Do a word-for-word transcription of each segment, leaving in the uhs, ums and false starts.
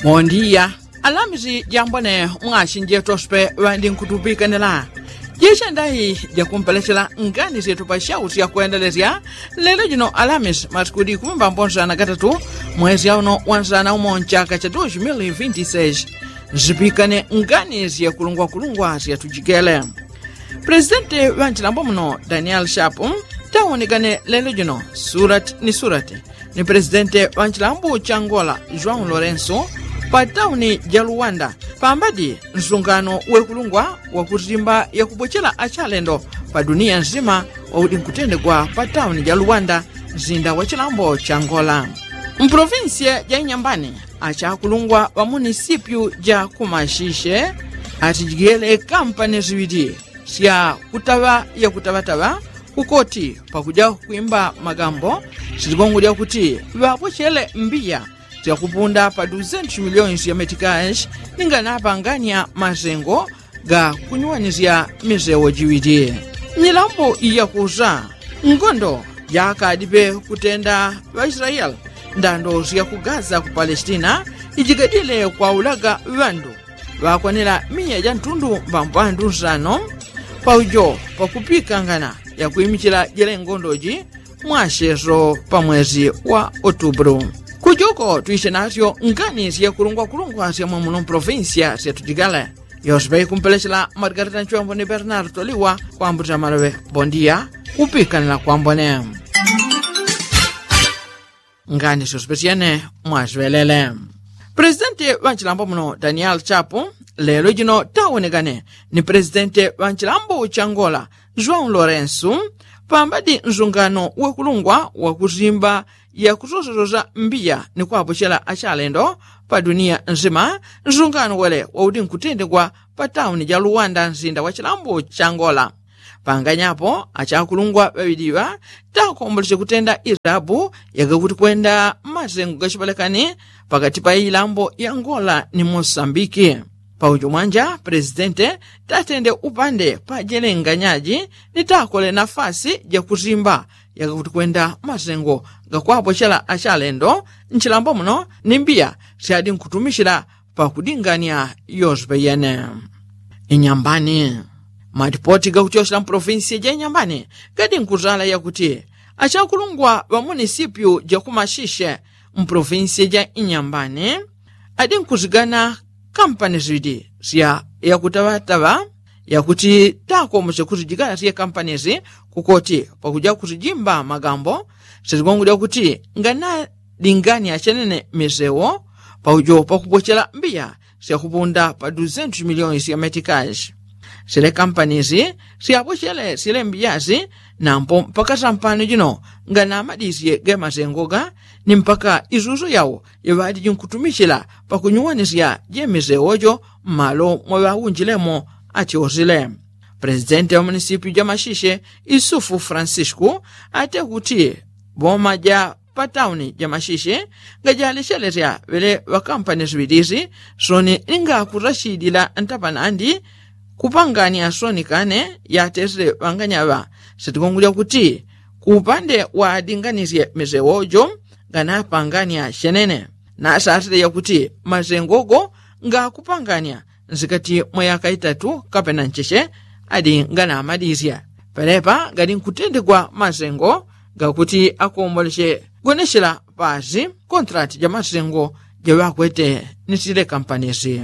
Mondiya alamisi jambone mwasinje tospe ŵandi nkutupikanila. Jechendayi jakumpelechela ngani syetu pa shau syakwendelesya lelo jino alamisi masikudi kumimba mbonsana gatatu mwezi auno wansana umo nchaka cha dos mil vinti seis. Zipikane ngani syekulungwakulungwa syatujikele. Presidenti ŵa nchilambo muno daniel shapu tawonikane lelo jino surati ni surati ni presidenti ŵa nchilambo cha ngola joão lorenso pa tauni ja luwanda pambadi nsungano wekulungwa wakusimba yakubochela achalendo pa duniya nsima waudi nkutendegwa pa tauni ja luwanda nsinda wa chilambo cha ngola. Mprovinsiya ja inyambani achakulungwa ŵa munisipyu ja kumashishe atijigele kampani ziŵili sya kutaŵa yakutaŵataŵa kukoti pakuja kwimba magambo siligongolya kuti ŵapochele mbiya syakupunda pa duzentos miliyoni sya metikashi ninga napanganya masengo ga kunyuwanisya misewo jiŵili. Nyilambo iyakusa ngondo yakadipe kutenda ŵaisrayeli ndando sya ku gaza ku palesitina ijigadile kwaulaga ŵandu ŵakwanila miya ja ntundu mbambandu nsano paujo pakupikangana yakwimichila jele ngondoji mwacheso pa mwezi wa otubulu. Kujuko twishe nasyo ngani syekulungwakulungwa sya mwamuno mprovinsiya syatujigale. Yose paikumpelechela margarita nchwembo ni bernardo liwa kwambuta maloŵe bondiya kupikanila kwambone. Ngani syose pasyene mwasiŵelele. Presidenti ŵa nchilambo muno daniel chapu lelo jino tawonekane ni presidenti ŵa nchilambo cha ngola joão lorenso pambadi nsungano wekulungwa wakusimba yakusosososa mbiya ni kwapochela achalendo pa duniya nsima. Nsungano wele waudi nkutendegwa pa tauni ja luwanda nsinda wa chilambo cha ngola panganyapo achakulungwa ŵaŵiliŵa takombolesye kutenda irabu yagakuti kwenda masengo gachipalekani pakati pa ilambo ya ngola ni mosambiki. Paujo mwanja presidente tatende upande pajelenganyaji ni takole nafasi jakusimba yagakuti kwenda masengo gakwapochela achalendo nchilambo muno ni mbiya syadi nkutumichila pakudingania yose peyene. Inyambani matipoti gakutyosela mpolofinsiya ja inyambani gadi nkuzala yakuti achakulungwa ŵa munisipyu ja kumashishe mpolofinsiya ja inyambani adi nkuzigana kampani ziŵidi sya yakutaŵataŵa yakuti takomosye kuzijigana sye kampani zi kukoti pakuja kuzijimba magambo siligongolya kuti ngana dingania chenene misewo paujo pakupochela mbiya syakupunda pa duzentos miliyoni sya metikashi. Sile kampani si syapochele sile mbiya si nampo mpaka sampano jino nganamadisye gemasengo ga ni mpaka isuso yao yaŵadiji nkutumichila pakunyuwanisya jemisewo jo mmalo mwaŵaunjilemo. Atyosile presidenti wa munisipyu ja mashishe isufu francisco ate kuti boma ja pa tauni ja mashishe ngajalechelesya ŵele ŵakampani ziŵilisi soni ningakurashidila ntapanandi kupangania soni kane yatesile ŵanganyaŵa. Sitikongolya kuti ku upande wa adinganisye misewo jo nganapangania chenene nasasile yakuti masengo go ngakupangania nsikati mwa yaka itatu kapena ncheche adi nganamadisya. Pelepa gali nkutendegwa masengo gakuti akomboleche gonechela pasi kontrati ja masengo jaŵakwete ni sile kampanisi.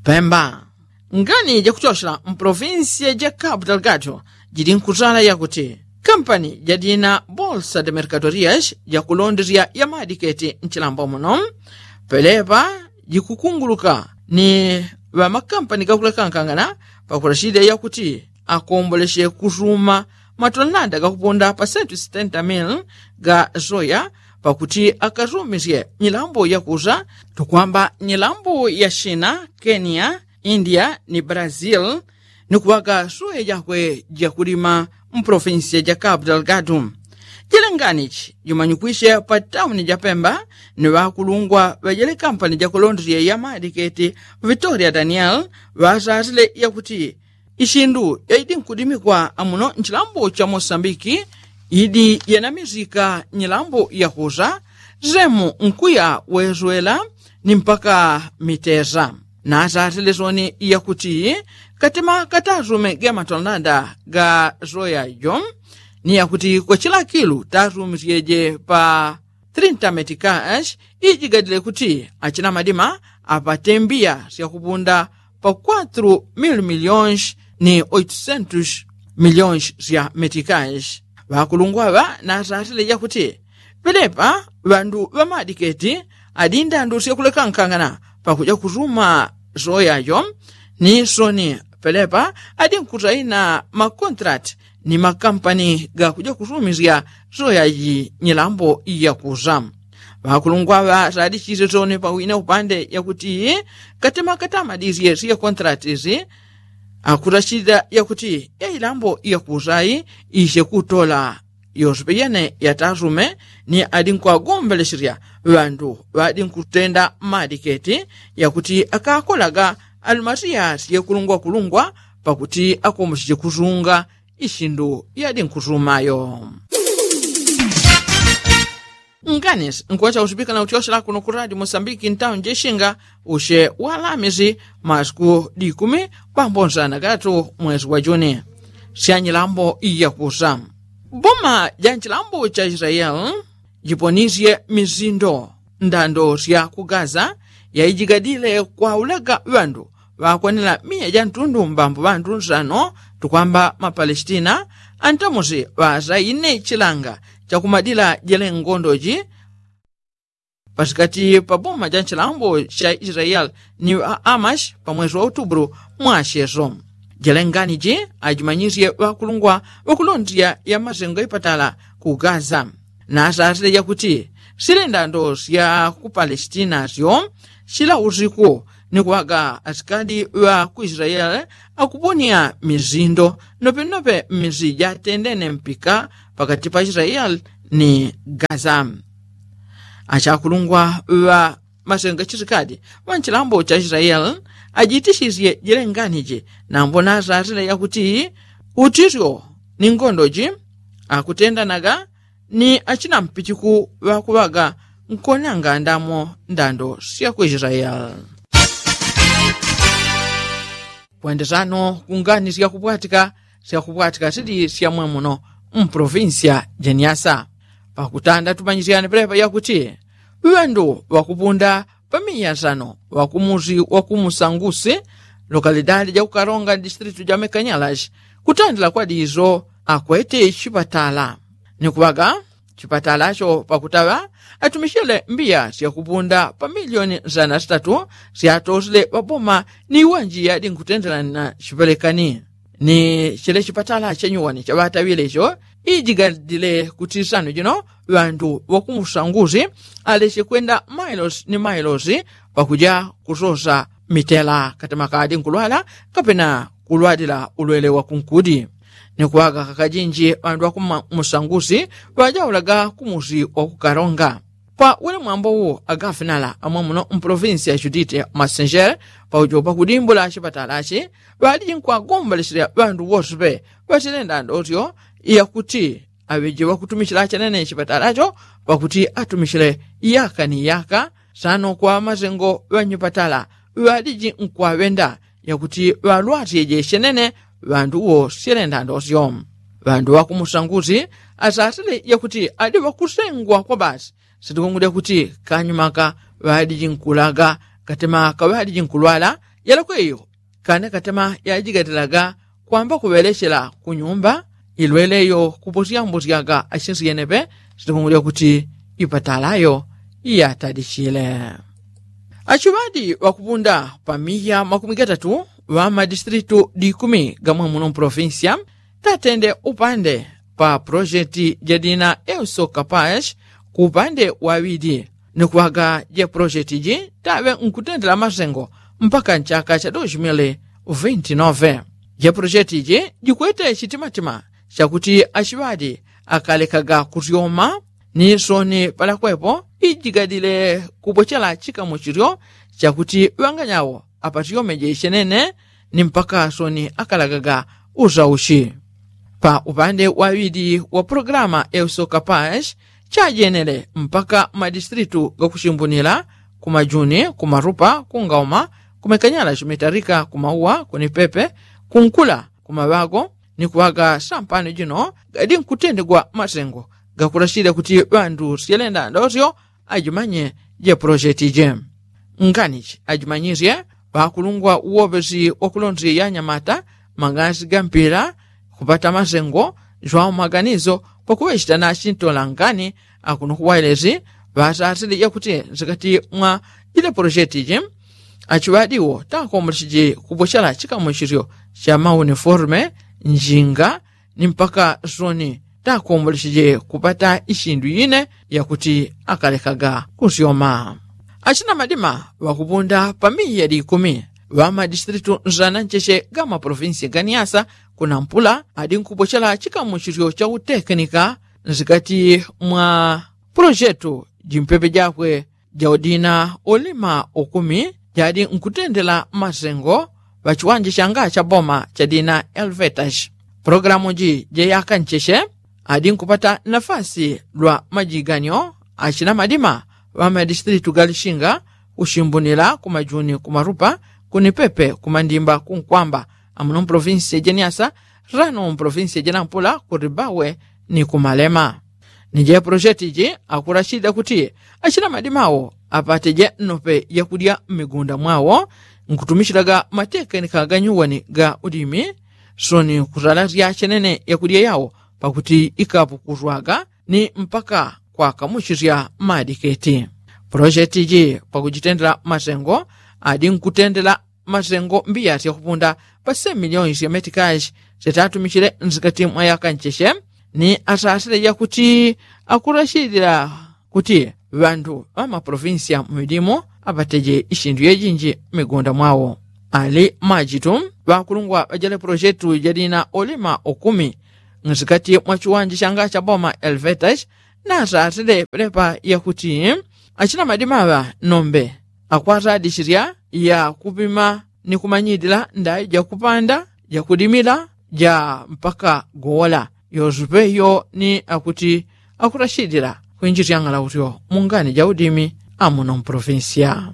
Pemba ngani jakuchochela mpolofinsiya ja kapu dalgado jili nkuzala yakuti kampani jadina bolsa de merkadorias jakulondesya ya madiketi nchilambo muno pelepa jikukunguluka ni ŵamakampani gakulekankangana pakulachidya yakuti akomboleche kusuma matonanda gakupunda pa sentu sitenta mili ga soya pakuti akasumisye nyilambo yakusa tukwamba nyilambo ya shina kenya india ni brazil ni kuŵaka soya jakwe jakulima mpolofinsiya ja kapu dalgado. Jilenganichi jumanyikwishe pa tauni ja pemba ni ŵakulungwa ŵa jele kampani jakulondesya ya madiketi victoria daniel ŵasasile yakuti ishindu yaidi nkudimikwa amuno nchilambo cha mosambiki idi yanamisika nyilambo yakusa semu nkuya weswela ni mpaka mitesa. Nasasile soni yakuti katema katasume ge matonanda ga soya jo ni yakuti kwa chilakilu tasumisyeje pa trinta metikash ijigadile kuti achina madima apate mbiya syakupunda pa kwatru mil milyonshi ni oitusentushi milyonshi sya metikashi. Ŵakulungwa ŵa nasasile yakuti pelepa ŵandu ŵamadiketi adi ndandu syakulekankangana pakuja kusuma soya jo ni soni pelepa adi nkusaina makontrati ni makampani gakuja kusumisya soya ji nyilambo yakusa. Ŵakulungwa ŵa sadichise soni pawine upande yakuti katema katamadisye sya kontrati si akusachita yakuti yailambo yakusa i isye kutola yose peyene yatasume ni adi nkwagombelesesya ŵandu ŵadi nkutenda madiketi yakuti akakolaga alumasiya syekulungwakulungwa pakuti akomoseche kusunga isindu yadi nkusumayo. Nganisi nkuwacha usipika na utyosela kuno kuradi mosambiki ntauni jeshinga usye walamisi masiku dikumi pambonsana gatu mwesi wa juni. Syanyilambo yakusa boma ja nchilambo cha israeli jiponisye misindo ndando sya ku gaza yaijigadile kwaulaga ŵandu ŵakwanila miya ja ntundu mbambo ŵandu nsano tukwamba mapalestina antamusi ŵasaine chilanga chakumadila jele ngondoji pasikati pa boma ja nchilambo cha israeli ni ŵa amashi pa mwesi wa utubulu mwasyeso. Jele nganiji ajimanyisye ŵakulungwa ŵakulondya ya masengo ipatala ku gaza nasasile jakuti sile ndando sya ku palestina syo sila usiku ni kuŵaga asikali ŵa ku israeli akuponya misindo nopenope mmisi jatendene mpika pakati pa israeli ni gaza. Achakulungwa ŵa masenga chisikali ŵa nchilambo cha israeli ajitisisye jele nganiji nambo nasasile jakuti utisyo ni ngondoji akutendanaga ni achina mpichiku ŵakuŵaga nkonanga ndamo ndando sya ku israeli. Kwendesano kungani syakupwatika syakupwatika sili syamwemuno mprovinsya jeniasa pakutanda tumanyisyane pelepa yakuti ŵandu ŵakupunda pamiya sano ŵakumusi wakumusangusi lokalidadi jakukaronga distritu ja mekanyalashi kutandila kwa diso akwete chipatala ni kuŵaga chipatalacho pakutaŵa atumichile mbiya syakupunda pa milioni zana sitatu syatosile ŵaboma ni iwanji yadi nkutendelana chipelekani ni chile chipatala chenyuwani chaŵataŵile icho ijigadile kuti sano jino ŵandu ŵakumusangusi aleche kwenda mailosi ni mailosi pakuja kusosa mitela katema kadi nkulwala kapena kulwalila ulwele wa kunkudi ni kuŵaga kakajinji ŵandu ŵakumusangusi ŵajaulaga kumusi wakukaronga. Kwa wele mwambo uwo agafinala amwemuno mprovinsi ya judite masenjere paujo pakudimbula chipatalachi ŵaliji nkwagomboleselya ŵandu wose pe ŵatile ndandosyo yakuti aŵeje ŵakutumichila chenene chipatalacho pakuti atumichile yaka ni yaka sano kwa masengo ŵanyipatala ŵaliji nkwaŵenda yakuti ŵalwasyeje chenene ŵandu wosyele ndandosyo. Ŵandu ŵakumusangusi asasile yakuti adi ŵakusengwa kwa basi sitikungulya kuti kanyumaka ŵadiji nkulaga katema kaŵadiji nkulwala yalakweyo kane katema yajigatilaga kwamba kuŵelechela kunyumba ilweleyo kuposyambosyaga achinsi yenepe sitikungulya kuti ipatalayo yatadichile. Achiŵadi ŵakupunda pa miya makumi gatatu ŵa madistritu dikumi gamwe muno mpolofinsiya tatende upande pa pulojeti jadina euso kapash ku upande waŵidi ni kuŵaga je pulojeti ji taŵe nkutendela masengo mpaka nchaka cha dos mil vinti nove. Je pulojeti ji jikwete chitimatima chakuti achiŵadi akalekaga kusyoma ni soni palakwepo ijigadile kupochela chikamuchilyo chakuti ŵanganyawo apatyome jeche nene ni mpaka soni akalagaga usauchi. Pa upande waŵidi wa pulogalamu euso kapash chajenele mpaka madistritu gakuchimbunila kumajuni, kumarupa, kungauma, kumekanyala chimetarika, kumauwa, kunipepe, kunkula, kumaŵago, ni kuŵaga sampano jino gadi nkutendegwa masengo. Gakulachile kuti ŵandu syelenda ndosyo ajimanye je pulosheti je. Nganichi ajimanyisye ŵakulungwa uwopesi wakulonsi yanyamata, magasi gampila, kupata masengo jwawo maganiso pakuŵechita nachintola ngani akuno kuwailesi ŵasasile yakuti nsikati mwa jile pulosheti ji achiŵadiwo takombolecheje kubwechela chikamuchisyo cha mauniforme, njinga, ni mpaka soni takombolecheje kupata ishindu ine yakuti akalekaga kusyoma. Achina madima ŵakupunda pamiya di ikumi ŵamadistritu nzana ncheche gamaprovinsi ganiasa kunampula adi nkubwechela chikamuchisyo cha utekenika nsikati mwa pulojetu jimpepe jakwe jaudina ulima ukumi jadi nkutendela masengo ŵachiwanja changa chaboma chadina elvetash. Pulogalamu ji jeyaka ncheche adi nkupata nafasi lwa majiganyo achina madima ŵamadistritu galishinga kushimbunila kumajuni kumarupa kunipepe kumandimba kunkwamba amuno mpulovinsi jeniasa rano mpulovinsi jenampula kuribawe ni kumalema. Ni je pulosheti ji akulachilila kuti achina madima awo apate je nnope yakudya mmigunda mwawo nkutumichilaga matekenika ganyuwani ga udimi soni kusala syachenene yakudya yawo pakuti ikapukuswaga ni mpaka kwakamuchisya madiketi. Pulosheti ji pakujitendela masengo adi nkutendela masengo mbiya syakupunda pa se miliyoni sya metikashi syatatumichile nsikati mwa yaka ncheche ni asasile yakuti akulachilila kuti ŵandu ŵamaprovinsiya mumidimu apateje ishindu yejinji mmigunda mwawo. Ali majitu ŵakulungwa ŵajale pulojetu jadina ulima ukumi nsikati mwa chiwanja changa chaboma elvetash nasasile pelepa yakuti achina madima ŵa nombe akwasadichilya ya kupima ni kumanyilila ndai jakupanda jakudimila ja mpaka gowola. Yosupe yo ni akuti akulachilila kwinjisya ng'alautyo mungani ja udimi amuno mpulovinsiya.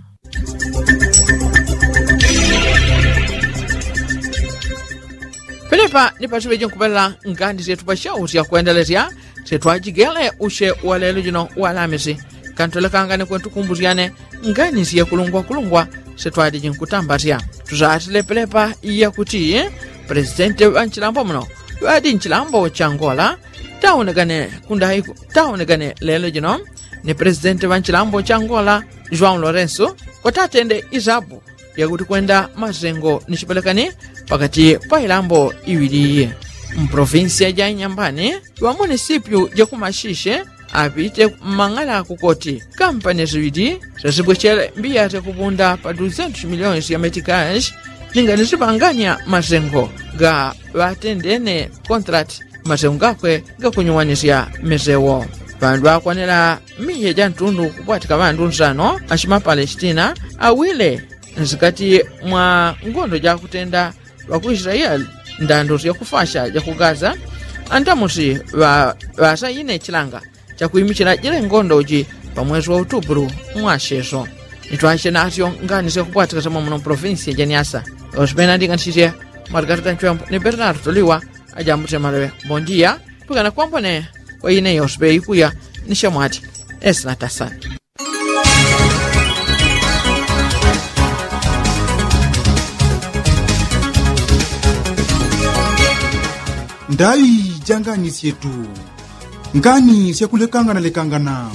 Pelepa ni pasiŵeje nkupelela ngani syetu pasyausya kwendelesya syetwajigele usye walelo jino walamisi kantolekanga ni kwentukumbusyane ngani syekulungwakulungwa syetwaliji nkutambasya. Tusasile pelepa yakuti pulesitenti ŵa nchilambo muno ŵadi nchilambo cha ngola taonekane kundaiko taonekane lelo jino ni pulesitenti ŵa nchilambo cha ngola juan lorenso kwatatende isabu yakuti kwenda masengo ni chipelekani pakati pa ilambo iŵili iyi. Mpulovinsiya ja inyambani ŵamunisipyu jakumashishe apite mmang'ala kukoti kampani siŵili syasibwechele mbiya syakupunda pa duzentu similiyoni sya metikashi ninga nisipanganya masengo ga ŵatendene kontrati masengo gakwe gakunyuwanisya misewo. Ŵandu ŵakwanela miya ja ntundu kupwatika ŵandu nsano achimapalesitina awile nsikati mwa ngondo jakutenda ŵakuisilayeli ndando syakufasha jakugaza antamusi ŵasaine chilanga chakuimichila jile ngondo uji pa mwesi wa utupulu mwacheso. Nitwache nasyo ngani syakupwatika syamomo muno mpulovinsi jeniasa. Osipena ndinganisisye mwatikati kanchwembo ni bernardo liwa ajambutile maloŵe bondiya. Pwikana kwambone kwa ine yospe ikuya ni syamwati esinatasani. Ndaŵi ja ngani syetu ngani syakulekangana lekangana.